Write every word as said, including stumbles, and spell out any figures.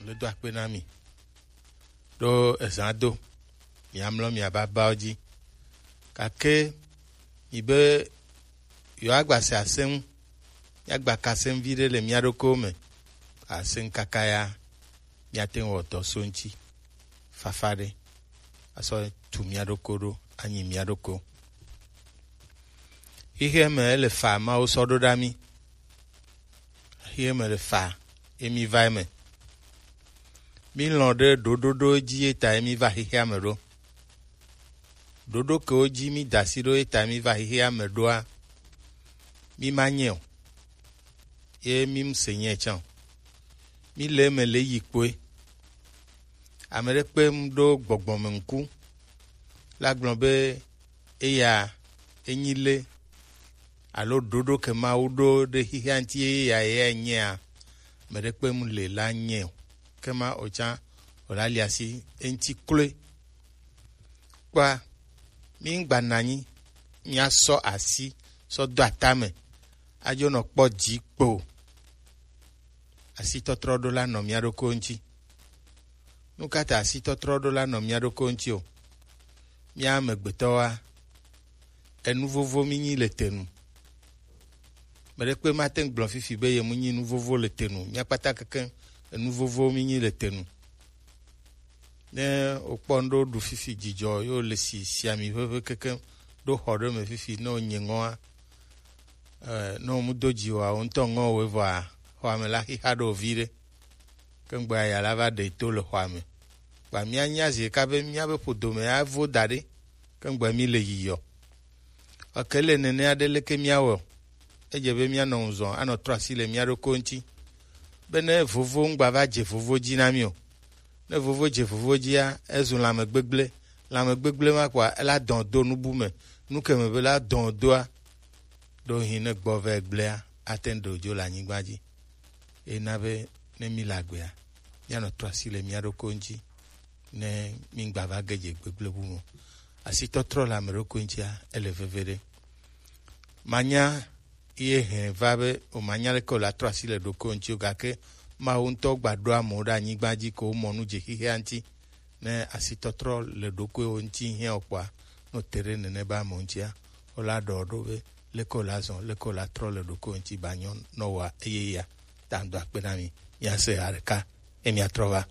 Le do akpe na mi ɖo ezã do, miamlɔ miababawo dzi. Gake mi be yewoagbase asẽ ŋu, míagbaka asẽ ŋu viɖe le mía ɖokuiwo me. Asẽ ŋu kaka ya, míate ŋu wɔ dɔ so ŋuti fafa ɖe, asɔ tu mía ɖokuiwo ɖo, anyi mía ɖokuiwo. Xexea me ele fa Mawu sɔ ɖo ɖa mí. Xexea me le fa ye mí va eme. Mí lɔ̃ ɖe ɖoɖoɖo dzi ye ta ye mí va xexea me ɖo. Ɖoɖo kewo dzi mí da asi ɖo ye ta mí va xexea me ɖoa, mí ma nyɛ o. Ye mí mu se nyɛ tsã o. Mí le eme le yi kpoe. Ame ɖe kpe mu ɖo gbɔgbɔ me ŋku la gblɔ be eya enyi le alo ɖoɖo ke Mawu ɖo ɖe xexea ŋuti ye ya ye nyea, ame ɖe kpe mu le la nyɛ o. Ke ma o tsã o la li asi eŋuti kloe. Kpɔa, mí ŋgba nɔ anyi míasɔ asi sɔ do atame adzo nɔ kpɔ dzi kpo o. Asitɔtrɔ ɖo la nɔ mía ɖokuiwo ŋuti. Nu ka ta asitɔtrɔ ɖo la nɔ mía ɖokuiwo ŋuti o? Mía amegbetɔwoa, enu vovo mí nyi le te nu. Meɖe kpe mate ŋu gblɔ fifi be ye mu nyi nu vovo le te nu. Mía kpata kekeŋ enu vovo mí nyi le te nu. Ne wokpɔ nu ɖo ɖu fifi dzidzɔ ye wole si siami ʋeʋẽ kekeŋ ɖo xɔ ɖe me fifi ne wonye ŋɔa, eh, ne womu do dzi o, wo ŋutɔ ŋɔ wo vɔa, xɔa me la xixa ɖo viɖe. Ke ŋgbɔa ya la va ɖe to le xɔa me. Kpa mía nya zi ɖeka be míabe ƒodo me avo da ɖe, ke ŋgbɔa mí le yiyɔ. Eke le nene aɖe leke míawɔ? Edze be míanɔ ŋuzɔ anɔ trɔ asi le mía ɖokui ŋuti. Be ne vovo ŋgba va dze vovo dzi na mí o. Ne vovo dze vovo dzia, ezu lãme gbegblẽ. Lãme gbegblẽ ma kpɔa, ela dɔn do nubu me. Nu ke me be la dɔn doa, ɖo hin ne gbɔ vɛ gblẽa, ate ŋu ɖe dzo le anyigba dzi. Ena be ne mí le agbea, míanɔ trɔ asi le mía ɖokui ŋuti. Ne mí ŋgba va ge dze gbegblẽ bu me o. Asitɔtrɔ le ame ɖokui ŋutia, ele veve ɖe. Manya ye hɛn va be o manya leke o la trɔ asi le ɖokui ŋuti o, gake Mawu ŋutɔ gba ɖo amewo ɖe anyigba dzi ko womɔ nu dze xexea ŋuti. Ne asitɔtrɔ le ɖokuiwo ŋuti hiã o kpɔa, ne o te ɖe nene be amewo ŋutia, o la ɖɔ ɖo be leke o la zɔ, leke o la trɔ le ɖokuiwo ŋuti ba nyɔ nɔ wa eye ya. Ta ŋdo akpe na mi. Mía se ha ɖeka, ye mía trɔ va.